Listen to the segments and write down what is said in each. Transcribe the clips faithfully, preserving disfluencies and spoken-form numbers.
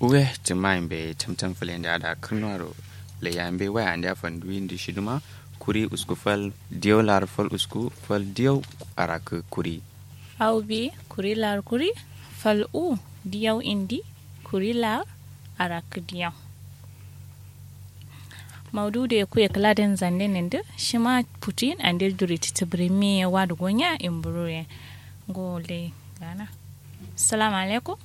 Uwe, cǝmma yimbe tamtam fǝlende ada kǝrnuwaro. Laiya yimbe waya ande a fanduwin dǝ shidǝma. Kuri usku fal diyau lar fal usku fal diyau. Arakǝ kuri. Au bi kuri lar kuri fal u diyau indi kuri lar arakǝ diyau. Maudu de kuye kǝla den zande nende shima putin ande duri titibirimi ye wadu gonya imburu ye. Ngo le gana. Assalamu alaikum.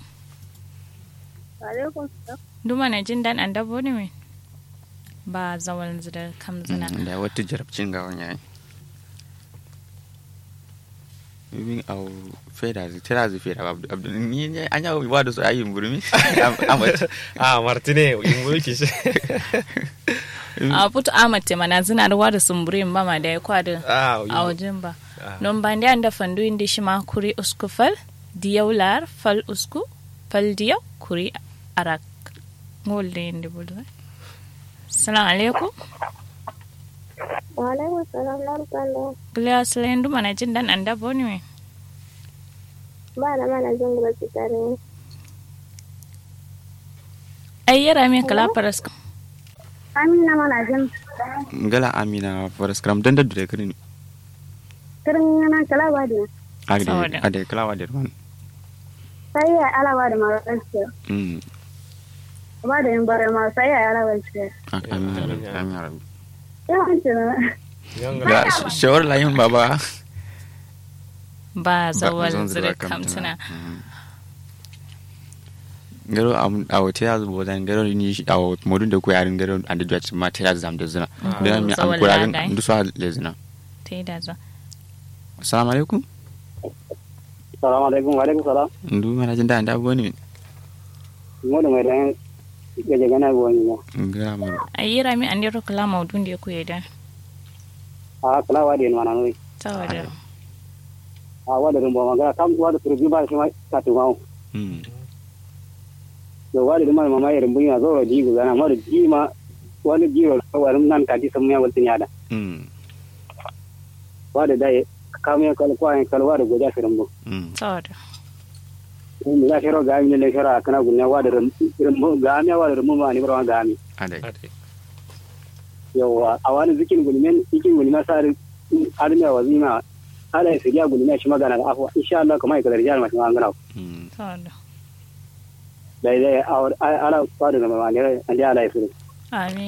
Alaikum salam. Duma na jin dan anda boni min. Ba zawal zida kamzina. Da wata jarabcin ga wanya. Min au feda zai tera zai feda ba abdu ni ne an yawo ba da su ayi burmi. Amat. A martine imburu kishi. A putu amat te mana zina da wada sumburi mama da ya kwada. A wajin ba. Non ba ndi anda fandu indi shima kuri usku fal diyau lar fal usku fal diyau kuri arak. Ngol de indi bulwa. Assalamu alaikum. Wa alaikum salam. Kiliya sile ndu mana jin dan anda boni me. Ba na mana jin gura kitare. Ai yara me kala paras. Amina mana jin. Ngala amina paras kram dan da dure kirin. Kirin ngana kala wadi. Ade kala wadi man. Sai ya ala wadi ma gaskiya. Ba da yin bare ma sai ya ala wai ce. Amin amin amin. Yawan ce na. Ga shawar layin baba. Ba zawal zira kamtuna. Ngaro a wote ya zubo zan ngaro ni a modun da kuyarin ngaro ande duwa ma tera zam da zuna. Don mi an kurarin ndu so le zuna. Tera zam. Assalamu alaikum. Assalamu alaikum. Wa alaikum salam. Ndu mana jin da anda boni min. Modu mai dan gaje gana boni na. Ngara modu. Ayira mi ande ro kala maudun de kuye dan. A kala wadi mana noi. Tawada. A wada rumbo magana kam wada turbi ba shi ma katumawo. Yo wada duma mama yerin bunya zoro ji gudana mara ji ma wani jiro wani nan kati samu ya waltin yada. Wada dai kamu ya kal kwa ya kal wada goja firin bu. Tawada. Mu za fero ga mi le fero akana gunne wada rin bu ga mi wada rin bu ma ni bro ga mi. Adai. Yawwa a wani zikin gulmen zikin gulmen sari. Adami a wazima. Ala ya siriya gulmen shi magana da afwa insha Allah kuma ya kadar jihar mashi ma an gana. Tawada. Dai dai ala fadu na mamani andi ala ya siri. Amin.